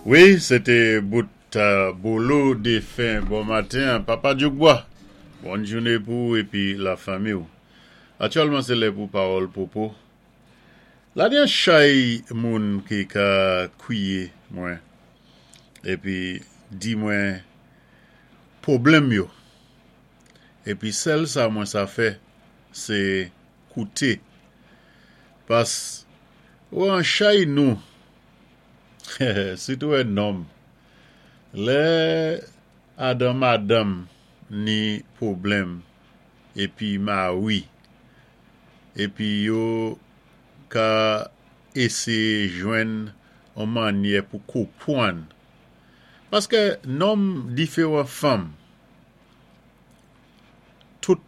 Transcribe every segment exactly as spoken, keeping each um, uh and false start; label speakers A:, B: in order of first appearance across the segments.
A: Wi, sé té bout Bolo défen bon maten, Papa Djoukbois. Bòn jouné pou ou épi lafanmi. Aktyèlman, sé lè pou pawòl popo. La ni an chay moun ki ka kwiyé mwen épi di mwen pwoblèm yo. Épi sèl sa mwen sa fè, sé kouté. Pas ou an chay nou, sitou an nonm, lè adan madanm ni pwoblèm épi mari, épi yo ka éséyé jwenn an mannyè pou konpwann. Paské nonm diféwan fanm, tout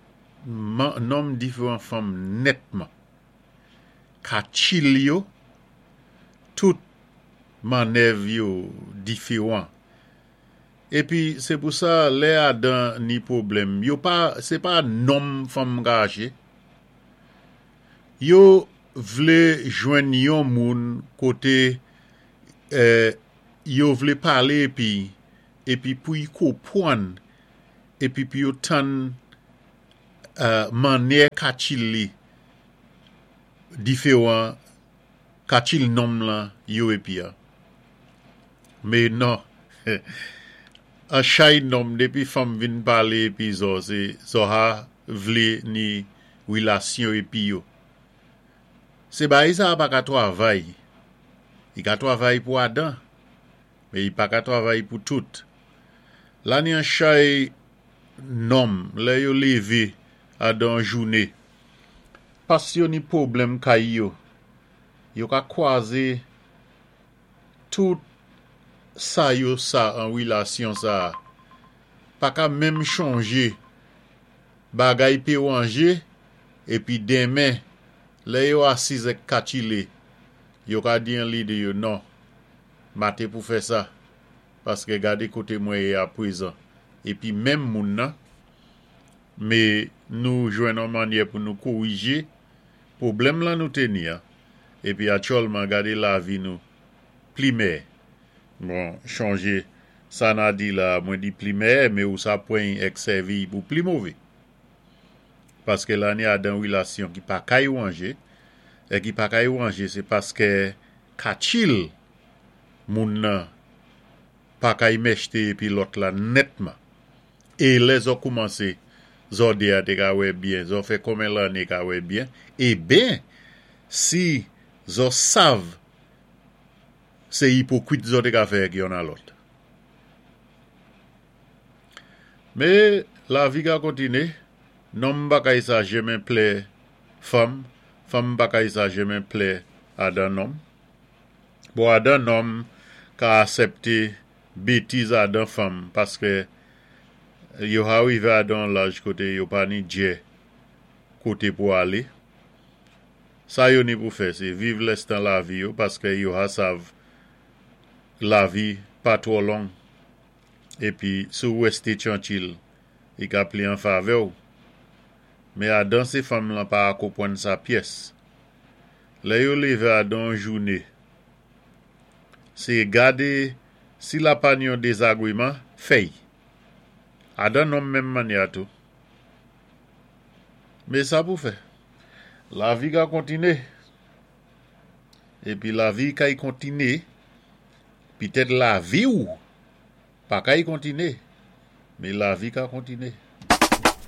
A: nonm diféwan fanm nètman. Katchil yo, tout mannèv yo diféwan. Épi sé pou sa lè adan ni pwoblèm, yo pa, sé pa nonm fanm gaje. Yo vlé jwenn yon moun koté euh, yo vlé palé épi épi pou y konpwann épi pou yo tann euh, mannyè katchil li diféwan katchil nonm lan yo épi a. Mé non, an chay nonm dépi fanm vin palé épi zò, sé zò ha vlé ni wilasyon épi yo. Sé bagay sa pa ka twavay. I ka twavay pou adan, mé i pa ka twavay pou tout. La ni an chay nonm, lè yo lévé adan jouné, pas yo ni pwoblèm kay yo, yo ka kwazé tout sa yo sa an wilasyon sa. Pa ka menm chonjé bagay pé wanje, épi denmen, lè yo asiz èk katchilé, yo ka di an lidé yo non, ma té pou fè sa, paské gadé koté mwen yé apwézan. Épi menm moun nan, mé nou jwenn an mannyè pou nou kowijé pwoblèm lan nou té ni an, épi aktyèlman gadé lavi nou pli mèyè. Bon, chonjé, sa na di la, mwen di pli mèyè, mé ou sa pwan èk sèvi pou pli mové. Paské la ni adan wilasyon ki pa kay wanje, é ki pa kay wanje, sé paské katchil moun nan pa kay mèchté épi lòt la nètman. É lè zò koumansé, zò dé a té ka wè byen, zò fè konmen lanné ka wè byen, é ben, si zò sav, sé ipokwit zò té ka fè èk yonn a lòt. Mé lavi ka kontiné, nonm pa kay sa jenmen plè fanm, fanm pa kay sa jenmen plè adan nonm. Bon, adan nonm ka asèpté bétiz adan fanm, paské yo arivé adan laj koté yo pa ni djè koté pou alé. Sa yo ni pou fè, sé viv lèstan lavi yo, paské yo ha sav lavi pa twò long. Épi, sou wèsté twanchil, i ka pli an favè ou. Mé adan sé fanm lan pa konpwann sa pyès. Lè yo lévé adan jouné, sé gadé si la pa ni yon dézagwiman, fèy. Adan nonm menm mannyè a tou. Mé sa pou fè. Lavi ka kontiné. Épi lavi kay kontiné, pitèt lavi ou pa kay kontiné, mé lavi ka kontiné.